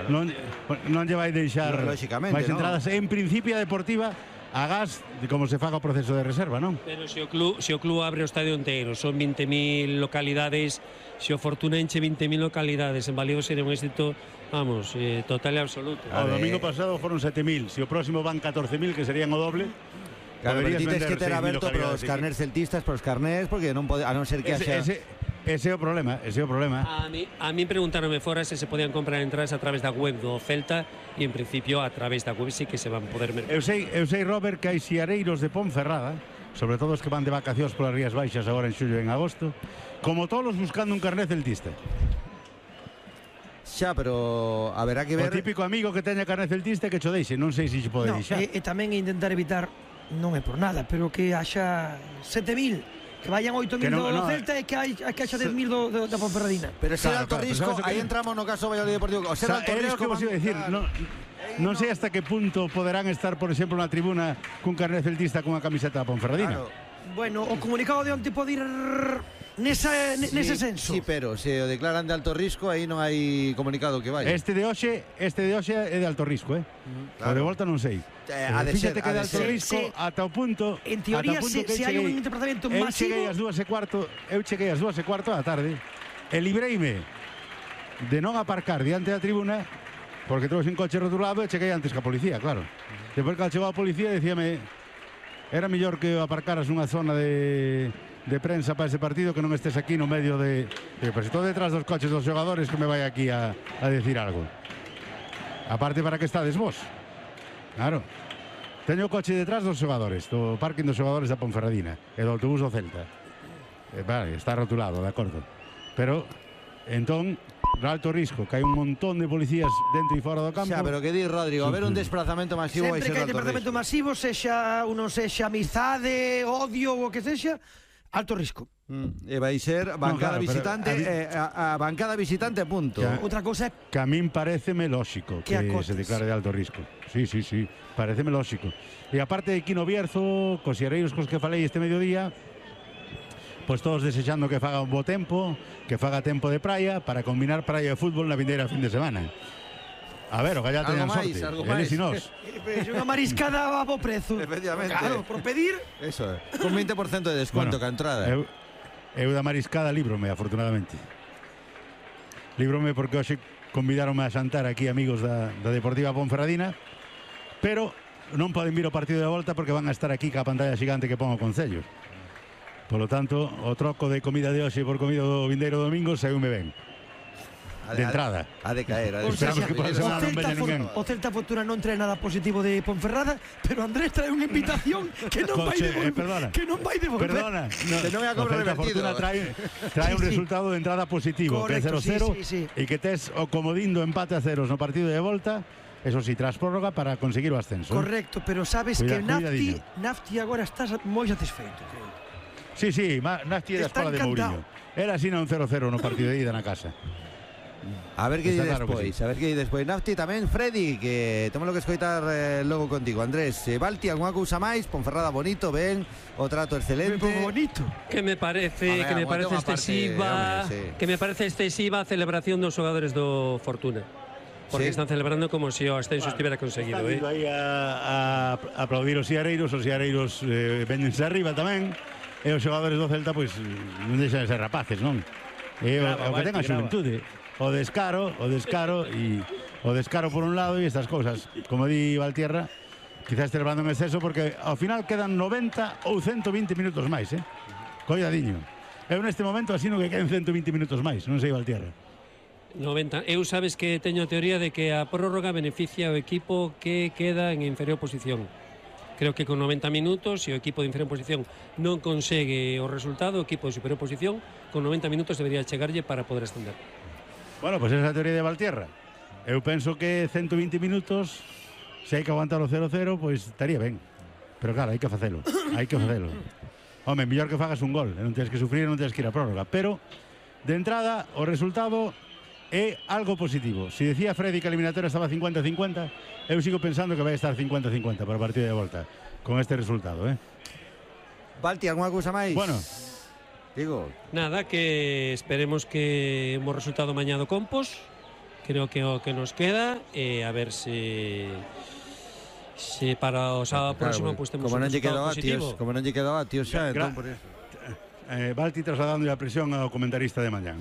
non lle vai deixar máis entradas. En principio a Deportiva agás de como se faga o proceso de reserva, non? Pero se o club abre o estadio inteiro, son 20.000 localidades, se o Fortuna enche 20.000 localidades, en Valeo sería un éxito, vamos, total e absoluto. O domingo pasado foron 7.000, se o próximo van 14.000, que serían o doble. Claro, pero ti tens que ter aberto para os carnés celtistas, para os carnés, porque non pode, a non ser que haxa... Ese é o problema, A mí preguntaronme fora se podían comprar entradas a través da web do Celta e en principio a través da web sí que se van poder mercar. Eu sei, Robert, que hai xiareiros de Ponferrada, sobre todo os que van de vacacións polas Rías Baixas agora en xullo e en agosto, como todos buscando un carné celtista. Xa, pero haberá que ver... O típico amigo que teña carné celtista que cho deixe, non sei se xe pode deixar. E tamén intentar evitar, non é por nada, pero que haxa 7.000, que vayan 8.000 do Celta e que haxa 10.000 da Ponferradina. Pero se é alto risco, aí entramos no caso Valladolid Deportivo. O sea, alto risco, que vos iba a decir, non sei hasta que punto poderán estar, por exemplo, na tribuna cun carné celtista con unha camiseta da Ponferradina. Bueno, o comunicado de onte pode ir nese senso. Sí, pero se o declaran de alto risco, aí non hai comunicado que vai. Este de hoxe é de alto risco, O de volta non sei. Fíxate que de alto risco ata o punto. En teoría, se hai un desplazamento masivo. Eu cheguei ás 2:15 da tarde e libreime de non aparcar diante da tribuna porque trouxe un coche rotulado e cheguei antes que a policía, claro. Depois que chegou a policía dicíame era mellor que aparcaras unha zona de prensa para ese partido que non estés aquí no medio de... Pero se estou detrás dos coches dos xogadores que me vai aquí a decir algo. Aparte, para que estades vos? Claro. Teño o coche detrás dos xogadores, do parking dos xogadores da Ponferradina e do autobús do Celta. Vale, está rotulado, de acordo. Pero, entón, de alto risco, que hai un montón de policías dentro e fora do campo. Xa, pero que di Rodrigo, a ver un desplazamento masivo vai ser sempre que hai alto desplazamento risco. masivo, sexa amizade, odio ou o que sexa, alto risco. E vai ser bancada visitante, a bancada visitante a punto. Outra cousa é que a min pareceme lóxico que se declare de alto risco. Sí, pareceme lóxico. E aparte de Quino Bierzo, cos xereiros cos que falei este mediodía, pois todos desexando que faga un bo tempo, que faga tempo de praia para combinar praia e fútbol na vindeira fin de semana. A ver, o Gallá teñan sorte, eles e nós. Unha mariscada a bo prezo. Efectivamente. Claro, por pedir. Eso é, con 20% de desconto que a entrada. Eu da mariscada líbrome, afortunadamente. Líbrome porque hoxe convidaronme a xantar aquí amigos da Deportiva Ponferradina, pero non poden vir ao partido de volta porque van a estar aquí ca pantalla xigante que pon o Concello. Por lo tanto, o troco de comida de hoxe por comida do vindeiro domingo saiume ben. De entrada. A de caer. Esperamos que por a semana non veña ninguén. O Celta Fortuna non trae nada positivo de Ponferrada, pero Andrés trae unha invitación que non vai devolver. Que non vai devolver. Perdona. Que non é a cobra revertido. Fortuna trae un resultado de entrada positivo, que é 0-0, e que tes o comodín do empate a ceros no partido de volta. Eso sí, tras prórroga para conseguir o ascenso. Correcto, pero sabes que Nafti agora estás moi satisfeito. Sí, Nafti é da escola de Mourinho. Era así un 0-0 no partido de ida na casa. A ver que di despois, Nafti tamén, Freddy, que temos que escoitar logo contigo. Andrés, Balti, algunha cousa máis? Ponferrada bonito, ben, o trato excelente. Bonito. Que me parece excesiva, que me parece excesiva a celebración dos xogadores do Fortuna. Porque están celebrando como se o ascenso estivera conseguido, Están aí a aplaudir os xereiros véñense arriba tamén. E os xogadores do Celta pois non deixan de ser rapaces, non? E o que ten a xuventude. O descaro por un lado e estas cousas, como di Valtierra, quizás celebrando en exceso porque ao final quedan 90 ou 120 minutos máis, Coidadiño. Eu neste momento asino que queden 120 minutos máis, non sei Valtierra. 90. Eu sabes que teño a teoría de que a prórroga beneficia o equipo que queda en inferior posición. Creo que con 90 minutos, se o equipo de inferior posición non consegue o resultado, o equipo de superior posición, con 90 minutos debería chegarlle para poder ascender. Bueno, pois esa é a teoría de Valtierra. Eu penso que 120 minutos, se hai que aguantar o 0-0, pois estaría ben. Pero claro, hai que facelo. Home, mellor que fagas un gol, non tens que sufrir, non tens que ir a prórroga. Pero, de entrada, o resultado é algo positivo. Se decía Freddy que a eliminatoria estaba 50-50, eu sigo pensando que vai estar 50-50 para o partido de volta con este resultado, Balti, algunha cousa máis? Bueno, digo, nada, que esperemos que un bo resultado mañá do Compos, creo que o que nos queda a ver se para o sábado próximo pues temos como un non lle resultado quedou a positivo. Tios, como non lle quedou a Tios xa, entón por eso. Balti trasladando a presión ao comentarista de mañán.